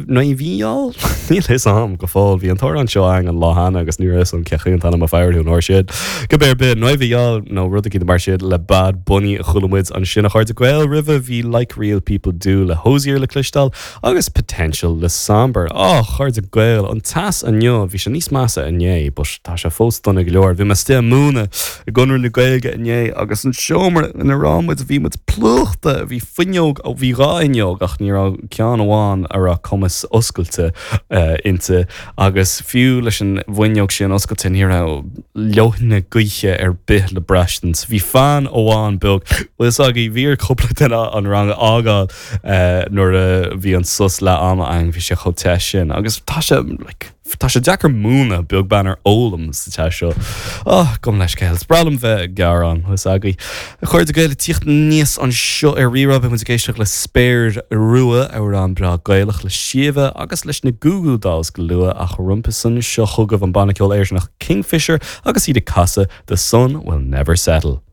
Noibheal? Níl fhios a'm go fóill. Bhí an t-amhrán seo a'inn an lá cheana agus ní raibh fhios a'm cé chaoi an t-ainm a fuair an uair sin. Cibé ar bith, Noibheal nó rud eicínt mar sin le Bad Bunny a chuala muid ansin a chairde Gael. Roimhe bhí Like Real People Do le Hozier le cloisteáil agus Potential le Sombr. Á, a chairde Gael, an teas inniu, bhí sé níos measa inné but tá sé fós dona go leor. Bhí mé istigh ag múineadh i gConradh na Gaeilge inné agus an seomra ina raibh muid, bhí muid plúchta, bhí fuinneog, ó bhí 2 fhuinneog ach ní raibh ceann amháin a raibh cumas oscailte inti agus fiú leis an bhfuinneog sin oscailte ní raibh leoithne gaoithe ar bith le braistint. Bhí fan amháin beag, bhfuil fhios agaibh, bhí ar cúpla duine an rang a fhágáil nuair a bhí an sos leath ama againn, bhí sé chomh te sin agus tá sé like, Tá sé deacair múineadh, beag beann ar fhoghlaim sa teas seo. Oh, gabh mo leithscéal. Is breá liom bheith ag gearán, tá fhios agaibh. A chairde Gael, ag tíocht aníos anseo ar Rí-Rá, beidh muid ag éisteacht le Spéir Rua, amhrán breá Gaelach le Síomha agus leis na Goo Goo Dolls go luath, ach roimhe san, seo chugaibh an banna ceoil Éireannach Kingfisher agus iad ag casadh The Sun Will Never Settle.